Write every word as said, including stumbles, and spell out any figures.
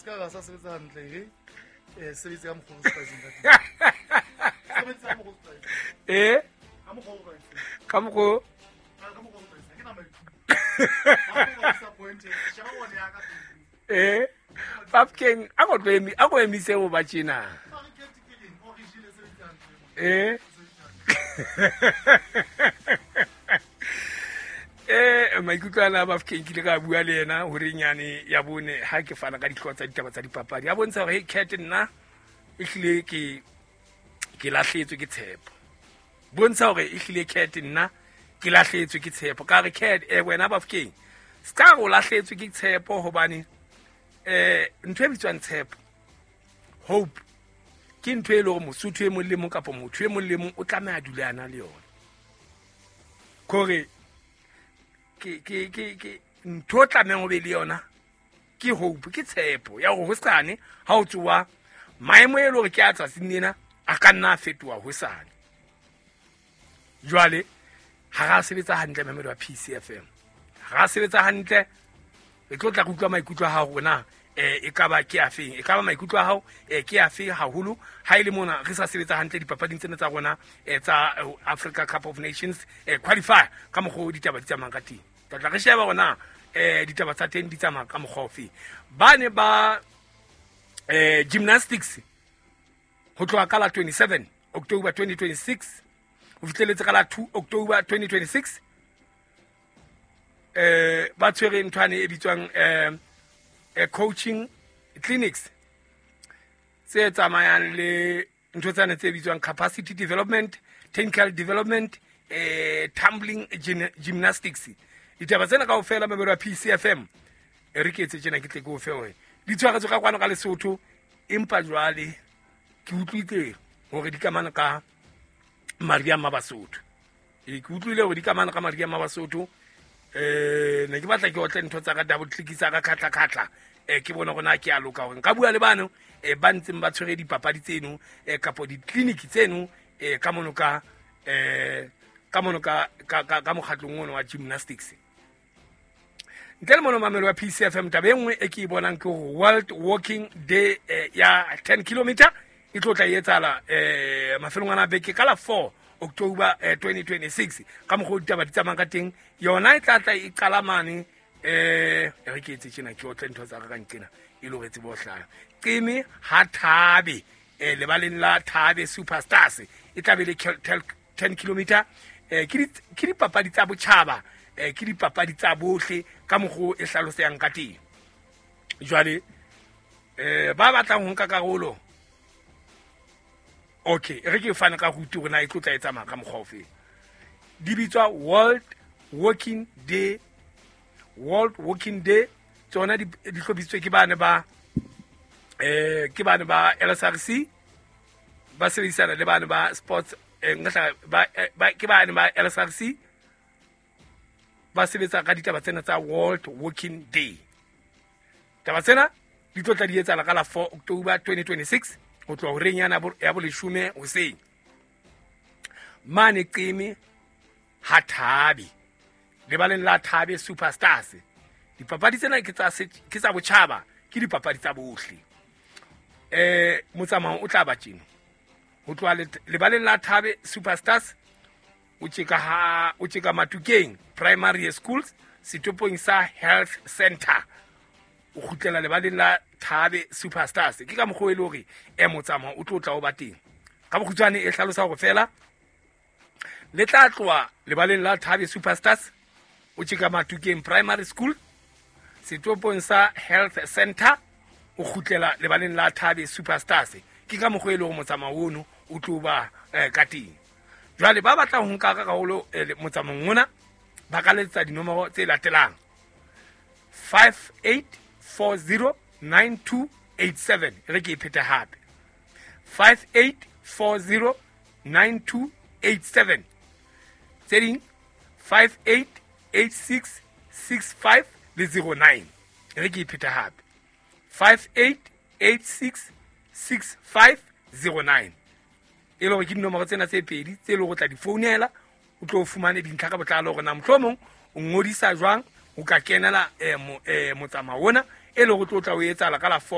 Se ka ra sa sebetsa hantle re eh sebetse ka mokgwa o tlwaetseng ka teng. Sebetse ka mokgwa o tlwaetseng. Eh, Ka mokgwa o tlwaetseng. Ka mokgo. Ka ka mokgwa o tlwaetseng. Ha ke na maikutlo. Ha o ba disappointed. Sheba one ya ka Facebook. Eh, Bafokeng, a ko tlo emi, a ko emise ho ba tjena. Ha re kete ke eng? O re jele, sebetse hantle. Eh. Sebetse hantle. Eh, maikutlo ana a Bafokeng, ke ile ka bua le yena horeng yane ya bone ha ke fana ka dihlooho tsa ditaba tsa dipapadi. A bontsha hore, hey cat, nna ehlile ke ke lahletswe ke tshepo. Bontsha hore ehlile, cat, nna ke lahletswe ke tshepo. Ka re, cat, eh, wena Bafokeng, se ka re o lahletswe ke tshepo, hobane eh ntho e bitswang tshepo, hope, ke ntho e leng hore Mosotho e mong le mong kapa motho e mong le mong o tlameha a dule a na le yona. Kore ke ke ke ke ntho o tlamehang o be le yona ke hope, ke tshepo ya hore hosane ha o tsoha, maemo e le hore ke a tsatsing lena a ka nna a fetoha hosane. Jwale ha ra sebetsa hantle, mamedi wa P C F M, ha ra sebetsa hantle. Re tlo tla re utlwa maikutlo a hao rona, eh e ka ba ke afeng, e ka ba maikutlo a hao eh ke afe haholo ha ile mona re sa sebetsa hantle dipapading tsena tsa rona eh tsa eh, Africa Cup of Nations eh qualifier, ka mokgwa o ditaba di tsamayang ka teng. Tla tla re sheba hore eh ditaba tsa teng di tsamaya ka mokgwa ofe. Ba ne ba eh gymnastics, ho tloha ka la twenty-seven October twenty twenty-six ho fihleletse ka la two October twenty twenty-six, eh ba tshwere nthwane e bitswang eh eh, coaching clinics tse tsamayang le ntho tsane tse bitswang capacity development, technical development, eh tumbling gyn- gymnastics. Ditaba tsena kaofela, mamedi wa P C F M, e re ke etse tjena, ke tle ke o fe hore di tshwaretswe ka kwano ka Lesotho, empa jwale ke utlwile hore di kamano ka Maria Mabasotho. E ke utlwile hore di kamano ka Maria Mabasotho. eh ne ke batla ke otle ntho tsa ka, double click tsa ka, khatla khatla, eh ke bone hore na ke a loka hore nka bua le bano eh ba ntseng ba tshwere dipapadi tseno eh kapo di-clinic tseno eh ka mono ka eh ka mono ka ka ka, ka mokgatlong ono wa gymnastics. Ntle le mono, mamelo wa P C F M, taba e nngwe e ke e bonang ke hore World Walking Day eh, ya ten kilometer e tlo tla e etsahala eh mafelong ana a beke ka la four October eh, twenty twenty-six. Ka mokgwa o ditaba di tsamayang ka teng, yona e tla tla e qala mane, eh e re ke etse tjena, ke otle ntho tsa ka ka nqena e le hore tsebo ho hlaha qeme ha Thabe, eh lebaleng la Thabe Superstars, e tla be le kel- tel- ten kilometer. eh ke di- ke dipapadi tsa botjhaba, eh ke dipapadi tsa bohle ka mokgwa o e hlalosehang ka teng. Jwale eh ba batlang ho nka karolo, okay, e re ke fane ka route hore na e tlo tla e tsamaya ka mokgwa ofe. Di bitswa World Walking Day. World Walking Day tsona di di hlophisitswe ke bane ba eh ke bane ba L S R C, ba sebedisana le bane ba sports, eh, nka hla- ba, eh, ba ke bane ba L S R C ba sebetsa ka ditaba tsena tsa World Walking Day. Taba tsena di tlo tla di etsahala ka la four October twenty twenty-six ho tloha horeng yana bo- ya boleshome hoseng mane Qeme ha Thabe, lebaleng la Thabe Superstars. Dipapadi tsena ke tsa se- ke tsa botjhaba, ke dipapadi tsa bohle. eh motsamao o tla ba tjena: ho tloha let- lebaleng la Thabe Superstars, o tjeka ha o tjeka Matukeng Primary Schools, setopong sa health center, o kgutlela lebaleng la Thabe Superstars. Ke ka mokgwa e le hore e motsamao o tlo tla o ba teng. Ka bokgutshwane e hlalosa hore fela le tla tloha lebaleng la Thabe Superstars, o tjeka Matukeng Primary School, setopong sa health center, o kgutlela lebaleng la Thabe Superstars. Ke ka mokgwa e le hore motsamao ono o tlo ba eh, ka teng. Jwale ba batlang ho nka ka karolo eh, le- motsamaong ona ba ka letsa dinomoro tse latelang: five eight four zero nine two eight seven. E re ke e phete hape: five eight four zero nine two eight seven. Tse ding, five eight eight six six five le zero nine. E re ke e phete hape: five eight eight six six five zero nine. E le hore ke dinomoro tsena tse pedi tse leng hore o tla di founela, o tlo fumane dintlha ka botlalo hore na mohlomong o ngodisa jwang o ka kenela eh, mo, eh, motsamao ona e le hore o tlo tla o etsahala ka la four.